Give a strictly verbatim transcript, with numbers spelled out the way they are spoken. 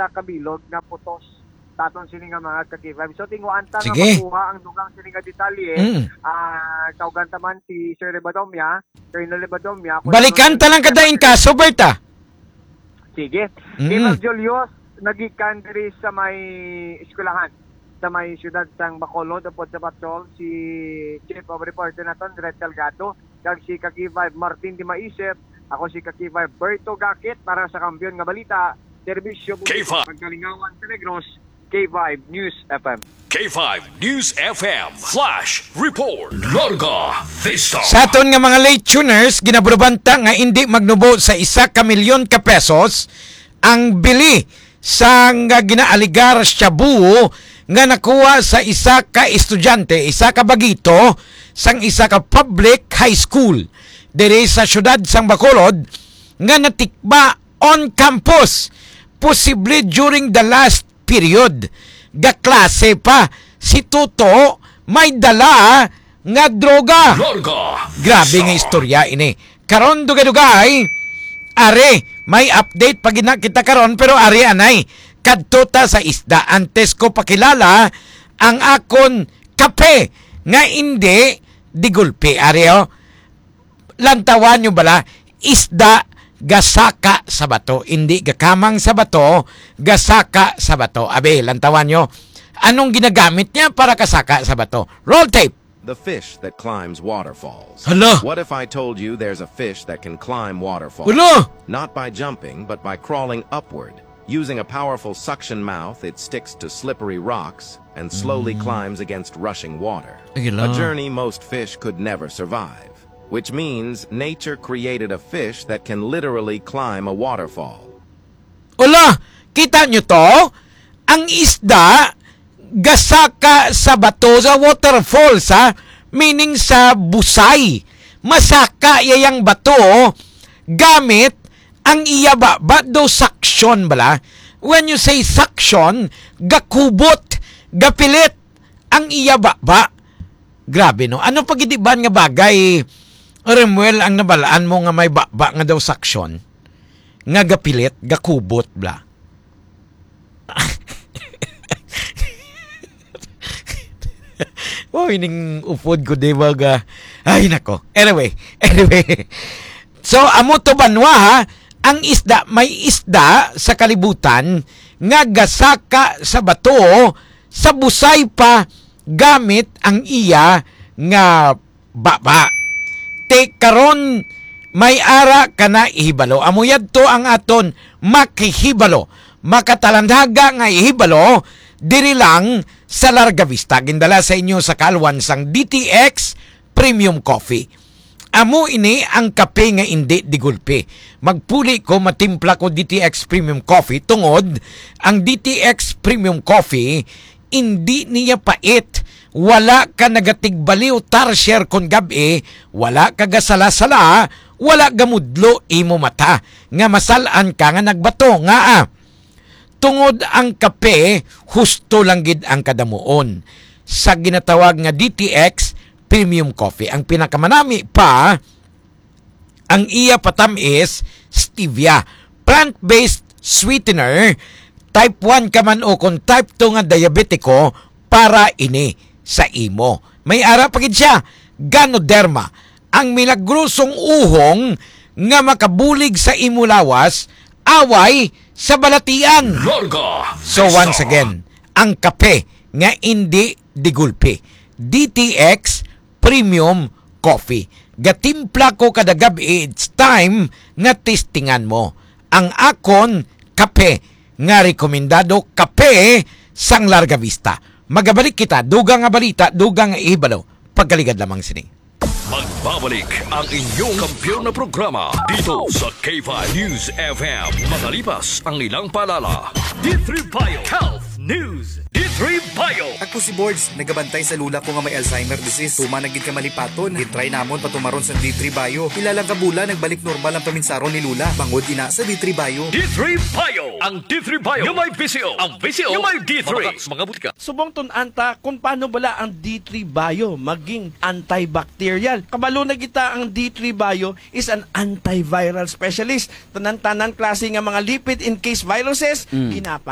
ka kabilog nga putos sa aton sini nga mga ka-K five. So, tinguan ta nga Sige. makuha ang dugang sini nga detalye. Mm. Ah, kaugan ta man si Sir Rebadomia, Colonel Rebadomia, kung Balikan ano ta lang ang kada in kaso, Bert, ah. Sige. Mm. Kay Ma'am Julius, nagikan diri sa may eskwelahan, sa may siyudad sang Bacolod, upod sa patrol, si Chief of Reporter naton, Red Delgado, kag si ka-K five Martin Dimaisip. Ako si ka-K five Berto Gakit para sa Kampiyon nga Balita, Serbisyo K five. Pagkalingawan sa Negros, K five News F M. K five News F M Flash Report. Larga Vista. Sa aton nga mga late tuners, ginaburuban ta nga indi magnubo sa isa ka milyon ka pesos ang bili sang, ah, ginaaligar shabu nga nakuha sa isa ka estudyante, isa ka bagito sang isa ka public high school diri sa siyudad sang Bacolod nga natikba on campus, posible during the last period. Gaklase pa si Toto, may dala nga droga. Larga Grabe Vista. nga istorya ini. Karon, dugay-dugay, are, may update pa gid na kita karon, pero are anay, kadto ta sa isda. Antes ko pakilala ang akon kape nga indi digulpi, are, oh. Lantawan nyo bala, isda gasaka sa bato, indi gakamang sa bato, gasaka sa bato. Abi, lantawan nyo, anong ginagamit niya para kasaka sa bato? Roll tape. The fish that climbs waterfalls. Hala! What if I told you there's a fish that can climb waterfalls? Hala! Not by jumping, but by crawling upward. Using a powerful suction mouth, it sticks to slippery rocks and slowly Mm. climbs against rushing water. Ay, hala. A journey most fish could never survive, which means nature created a fish that can literally climb a waterfall. Hala! Kita nyo to? Ang isda gasaka sa bato, sa waterfall, sa, meaning sa busay. Masaka iya yang bato gamit ang iya baba daw, suction bala. When you say suction, gakubot, gapilit ang iya baba. Grabe, no? Ano pa gid iban nga bagay, Remuel, ang nabalaan mo nga may baba nga daw suction? Nga gapilit, gakubot, bla. Oh, ining upod ko, di ba, ga-, ay, nako. Anyway, anyway. So, amo to, banwa, ha? Ang isda, may isda sa kalibutan nga gasaka sa bato, sa busay pa, gamit ang iya nga baba. Ti karon, may ara ka na ihibalo. Amo yadto ang aton makahibalo. Makatalandhaga nga ihibalo diri lang sa Larga Vista. Gindala sa inyo sa kaalwan sang D T X Premium Coffee. Amo ini ang kape nga indi digulpi. Magpuli ko, matimpla ko D T X Premium Coffee tungod ang D T X Premium Coffee indi niya pait. Wala ka nagatigbaliw tarsier kon gab-i, wala ka gasala-sala, wala gamudlo imo mata nga masal-an ka nga nagbato. Ngaa? Tungod ang kape, husto lang gid ang kadamuon sa ginatawag nga D T X Premium Coffee. Ang pinakamanami pa, ang iya patam-is stevia, plant-based sweetener, type one ka man o kung type two nga diabetiko, para ini sa imo. May ara pa gid siya, Ganoderma, ang milagrosong uhong nga makabulig sa imo lawas, away sa balatian. Larga So, Vista. once again, ang kape nga indi digulpi, D T X Premium Coffee. Gatimpla ko kada gab-i, it's time nga testingan mo ang akon kape nga rekomendado, kape sang Larga Vista. Magabalik kita, dugang nga balita, dugang nga ihibalo. Pagkaligad lamang sini. Magbabalik ang inyong kampiyon na programa dito sa K five News F M. Makalipas ang ilang paalala. D three Bio Health News. D three Bio. Ako si Borge, nagabantay sa lula ko nga may Alzheimer disease. Tuman na gid ka malipaton. Gitry namon patumaron sa D three Bio. Pila lang ka bulan, nagbalik normal ang paminsaron ni lula. Bangod ina sa D three Bio. D three Bio. Ang D three Bio nga may V C O. Ang V C O nga may D three. Mga butika. Subong tun-an ta kung paano bala ang D three Bio maging antibacterial. Kabalo na kita, ang D three Bio is an antiviral specialist. Tanan-tanan klase nga mga lipid encased viruses, Mm. ginapa